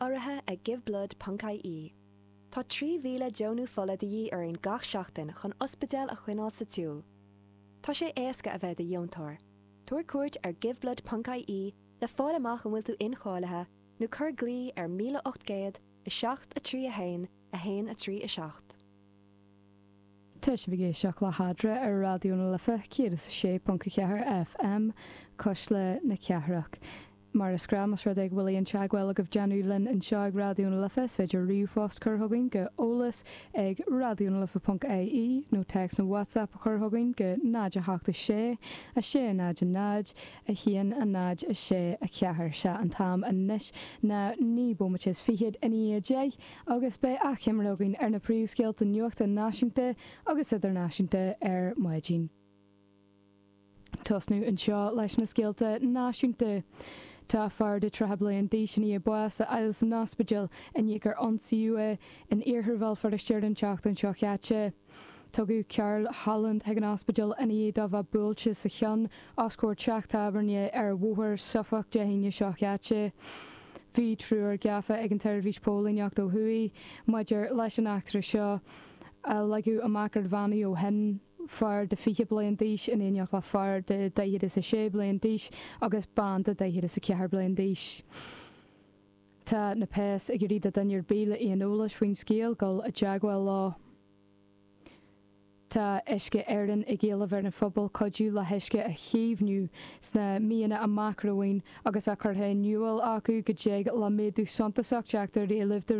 Urraithe ag Giveblood ponc ie. Tá 3,000 deonú fola de dhíth orainn gach seachtain chun ospidéil a choinneáil sa tsiúl. Tá sé éasca a bheith i do dheontóir. Tabhair cuairt ar Giveblood ponc ie le fáil amach an bhfuil tú incháilithe nó cuir glao ar 1800 7 3 1 1 3 7. Tá sibh ag éisteacht le hEadra ar Raidió na Life 106.4 FM, Cuisle na Cathrach. Mar is gnáth, más rud é go bhfuil aon teagmháil agaibh déanamh linn anseo ag Raidió na Life, is féidir ríomhphost cur chugainn go eolas ag raidionalife.ie nó téacs nó WhatsApp a chur chugainn go 0 8 6 6 0 0 1 0 6 4. Sea, an t-am anois ná 9 bomaite is fichead i ndiaidh 10 agus beidh achoimre againn ar na príomhscéalta nuachta náisiúnta agus idirnáisiúnta ar maidin. Tosnú anseo leis na scéalta náisiúnta. Tá fear de 30 bliain d'aois i ndiaidh bás a fháil san ospidéal i ndiaidh gur ionsaíodh é in iarthar Bhéal Feirste ar an tseachtain seo chaite. Tugadh Karl Holland chuig an ospidéal i ndiaidh dó bheith buailte sa cheann os comhair teach tábhairne ar Bhóthar Suffolk Dé hAoine seo chaite. Bhí triúr gafa ag an tSeirbhís Póilíneachta ó thuaidh maidir leis an eachtra seo a leagadh amach roinnt mhí ó shin. fear de 20 bliain d'aois in éineacht le fear de 46 bliain d'aois agus bean de 44 bliain d'aois. Tá na péas ag iarraidh do dhuine ar bith le aon eolais faoin scéal dul i dteagmháil leo. Tá Uisce Éireann ag éileamh ar an phobal cuidiú le huisce a chaomhnú sna míonna amach romhainn agus á curtha in iúl acu go dtig le méadú suntasach teacht ar éileamh de.